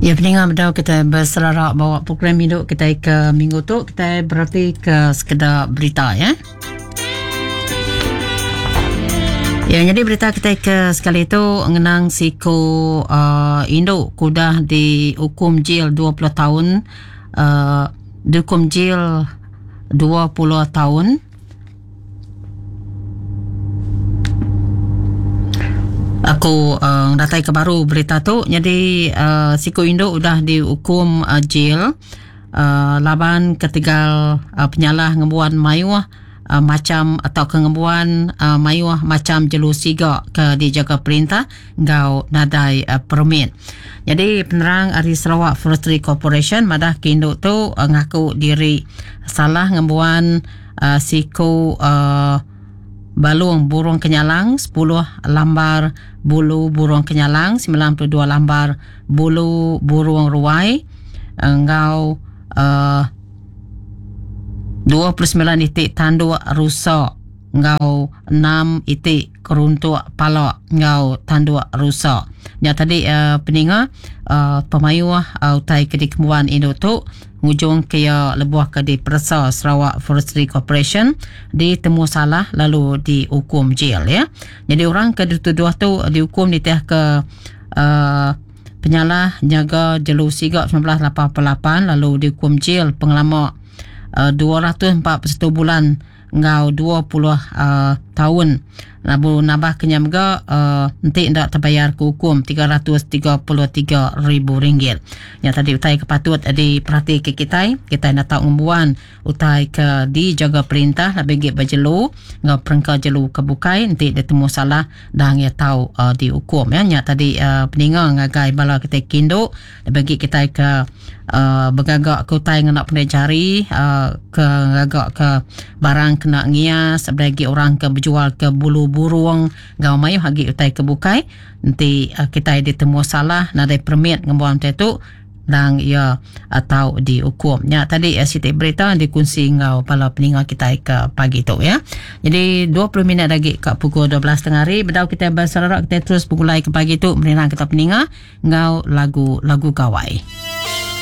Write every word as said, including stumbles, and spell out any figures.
Ya, peninga bedau kita berserarak bawa program hidup kita ke minggu tu, kita berarti ke sekedar berita ya. Ya, jadi berita kita ke sekali itu ngenang siku uh, induk kudah dihukum jail dua puluh tahun, uh, dihukum jail dua puluh tahun. Aku uh, datai ke baru berita tu. Jadi uh, siku induk udah dihukum uh, jail uh, laban ketegal uh, penyalah ngembuan mayuh uh, macam atau kengembuan uh, mayuh macam jelu siga ke dijaga perintah ngau nadai uh, permit. Jadi penerang ari Sarawak Forestry Corporation madah ke induk tu uh, ngaku diri salah ngembuan uh, siku uh, balung burung kenyalang sepuluh lambar bulu burung kenyalang sembilan puluh dua lambar bulu burung ruai engau uh, dua puluh sembilan itik tanduk rusak engau enam itik keruntuk palak engau tanduk rusak. Ya tadi uh, peninga uh, pemayuh uh, utai ke dikemuan induk tu ngujung ke ya lebuh ke di peresa Sarawak Forestry Corporation ditemu salah lalu dihukum jail ya. Jadi orang ke dituduh tu dihukum diteh ke uh, penyalah jaga jelu sigak sembilan belas lapan puluh lapan lalu dihukum jail pengelama uh, dua ratus empat puluh satu bulan ngau dua puluh uh, tahun. Lalu nambah kenyam ga uh, nanti ndak terbayar ke hukum tiga ratus tiga puluh tiga ribu ringgit. Yang tadi utai ke patut diperhati ke kita, kita nak tahu ngembuan utai ke dijaga perintah lebih gig berjelu ngau perengka jelu ke bukai nanti dia temu salah dan ia tahu uh, dihukum ya. Yang tadi uh, peninga ngagai bala kita kinduk lebih gig kita ke uh, bergagak ke utai ngena pandai jari uh, ke gagak ke barang kena ngias bagi orang ke berjual ke bulu burung ngau mayu hagi utai ke bukai nanti uh, kita ditemu salah nadai permit ngembuan tu dan ia atau dihukum. Ya tadi uh, siti berita dikunci ngau bala peninga kita ke pagi tu ya. Jadi dua puluh minit lagi ke pukul dua belas tengah hari bedau kita berserarak kita terus pukul ke pagi tu menerang kita peninga ngau lagu-lagu gawai.